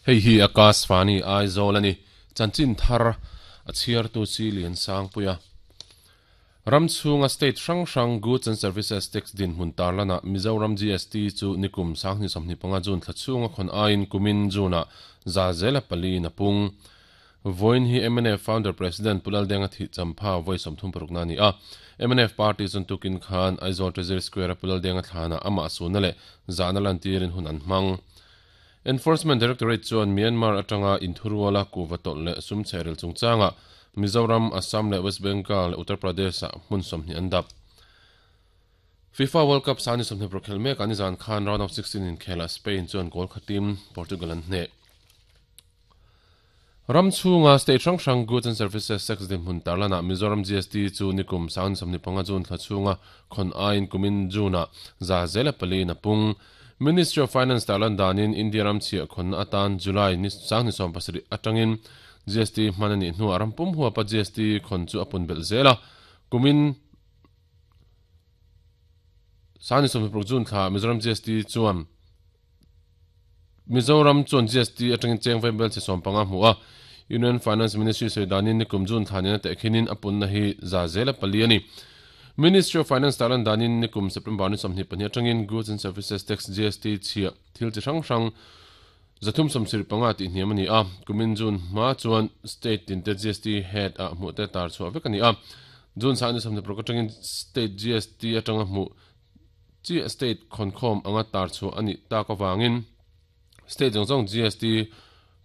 Hei hi Akashvani Aizawl a ni. Chanchin thar a chhiartu chi lian sangpuia. Ram chhunga state hrang hrang Goods and Services Tax dinhmun tarlanah Mizoram GST chu nikum 2025 June thla chhunga khawn aiin kumin June-ah 4% in a pung. Vawiin hi mnf Founder President Pu Laldenga thih champha vawi 36 na a ni a. Mnf party chuan tukin khan Aizawl Treasury Square-a Pu Laldenga thlanah amah suhna leh zahna lantirin hun an hmang. Enforcement Directorate chuan Myanmar atanga inthuruala kuhva tawlh leh sum chhehrel chungchangah Mizoram, Assam leh West Bengal leh Uttar Pradesh-ah hmun 20 an dap. FIFA World Cup sani 20 khel mek an izan khan round of 16 inkhelah Spain chuan goal khatin Portugal an hneh. Ram chhunga state hrang hrang Goods and Services Tax dinhmun tarlanah Mizoram GST chu nikum 2025 June thla chhunga khawn aiin kumin June-ah 4% in a pung. Ministry of Finance tarlan danin India ram chhiah khawnna atan July ni 2007 atangin GST hman a nih hnuah ram pum huapa GST khawn chu a pun belh zel a, kumin 2026 June thla Mizoram GST chuan Mizoram chuan GST atangin cheng vaibel che 15 hmu a, Union Finance Ministry sawi danin nikum June thla nena tehkhinin a punna hi 4% a ni. Ministry of Finance tarlan danin nikum September ni 22 atangin Goods and Services Tax, GST, chhiah thil chi hrang hrang 375 tih hniam a ni a, kumin June hma chuan state tinte GST head ah hmuh te tar chhuah vek a ni a. June sah ni 26 atangin state GST atanga hmuh chiah state khawnkhawm anga tar chhuah a nih tak avangin state zawng zawng GST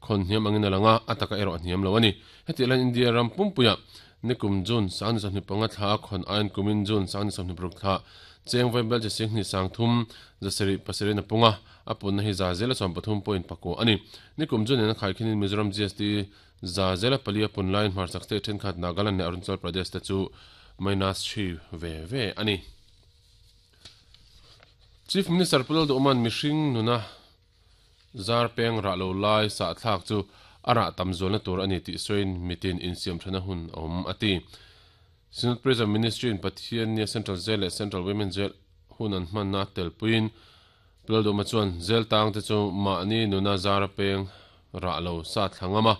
khawn hniam angin a lang a, a taka erawh a hniam lo a ni. Hetiang hian India ram pumpuiah nikum June 2025 thla a khawn aiin kumin June 2026 thla cheng vaibel chi 2 sang thum 7 7 in a pung a, a punna hi 13.9 a ni. Nikum June in a khaikhinin Mizoram GST 4% a pun laiin hmarchhak state thenkhat Nagaland leh Arunachal Pradesh te chu minus 3 ve ve a ni. Chief Minister Pu Lalduhman mihring nuna zar peng rah lo lai sah thlak chu a rah tam zualna tur a ni tih sawiin mitin insiam thana hun a awm a ti. Synod Prison Ministry in Pathian nia Central Jail leh Central Women Jail hun an hmanna telpuiin Pu Lalduhma chuan jail tang te chu mahni nuna zar peng rah lo sa thla ngam a,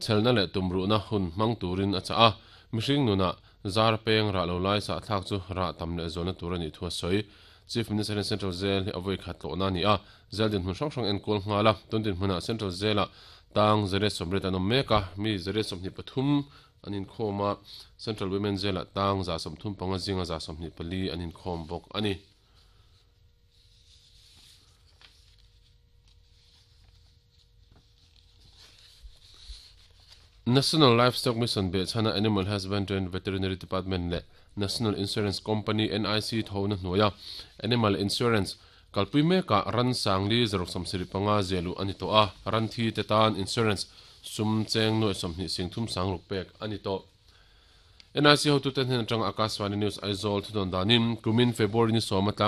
Chhelna leh tumruhna hun hmang turin a chah a, mihring nunah zar peng rah lo lai sahthlak chu rah tam leh zualna tur a nih thu a sawi. Chief Minister hian Central Jail hi a vawi khat tlawhna a ni a, jail dinhmun hrang hrang enkual nghal a, tun dinhmunah Central Jail-ah tang 180 an awm mek a, mi 123 an inkhawm a, Central Women Jail-ah tang 135 zinga 124 an inkhawm bawk a ni. National Livestock Mission behchhana Animal Husbandry and Veterinary Department leh National Insurance Company, NIC, thona hnuaia Animal Insurance kalpui mekah ran sangli zaruk 75 ziahluh a ni tawh a, ran thi te tan insurance sum cheng nuaih 20 sing thum sang ruk pek a ni tawh. NIC hotute hnen atanga Akashvani News Aizawl thudawn danin kumin February ni sawm atang.